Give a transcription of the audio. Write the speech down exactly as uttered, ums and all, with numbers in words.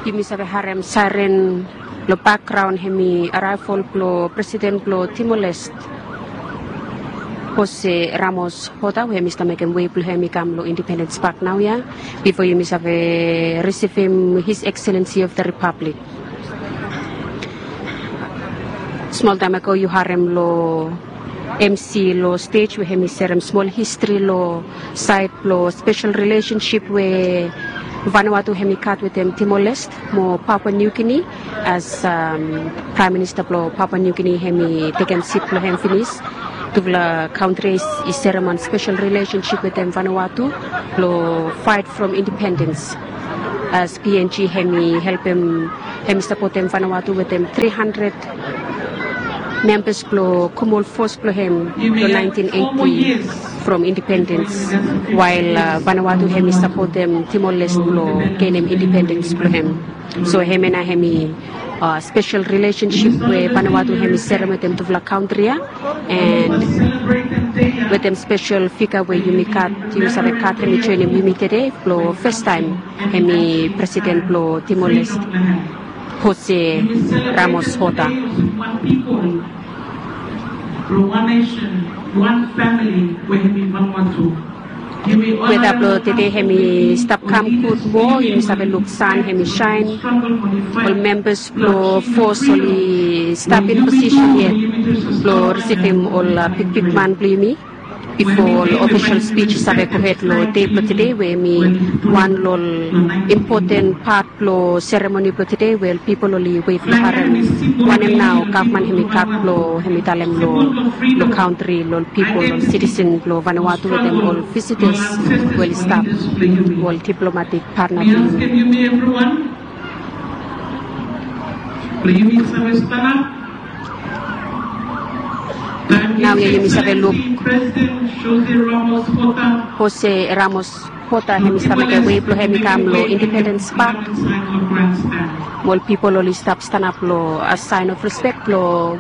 Yumi save harem sairen lo bakgraon, hemi araevol blo presiden blo Timor-Leste, Jose Ramos-Horta, we hemi stap mekem wei blo hem i kam lo Independence Park naoia, bifo yumi save risivim His Excellency of the Republic. Smol taem ago yu harem lo M C lo stej we hemi serem smol histri lo saed blo spesel rilesensip we Vanuatu hemi gat wetem Timor-Leste mo Papua New Guinea, as Praem Minista blo Papua New Guinea hemi tekem sit blo hem finis. Tufala kantri i serem wan spesel rilesensip wetem Vanuatu blo faet from independens, as P N G hemi helpem, hemi sapotem Vanuatu wetem tri handred membas blo Kumul fos blo hem lo naentin eiti from independens, wael Vanuatu hemi sapotem Timor-Leste blo genem independens blo hem. So hemia nao hemi spesel rilesensip we Vanuatu hemi serem wetem tufala kantri ia, and wetem spesel figa we yumi gat, yumi save gat hemi joenem yumi tede blo fastaem, hemi presiden blo Timor-Leste, Jose Ramos-Horta. Weta blo tede hemi stap kam gud moa, yumi save luk san hemi saen, ol membas blo fos oli stap in posisen yet blo risivim ol bigbigman blo yumi bifo ol ofisol spij i save gohed lo dei blo tede, we hemi wan lo ol impoten pat lo seremoni blo tede, we ol pipol oli wet lo harem wanem nao gavman hemi gat blo hemi talem lo, lo kantri, lo ol pipol, ol sitisen blo Vanuatu wetem ol visitas we oli stap, ol diplomatik patna blo yumi. Naoia yumi save luk Jose Ramos-Horta hemi stap mekem wei blo hemi kam lo Independens Pak. Ol pipol oli stap stanap lo a saen of respek blo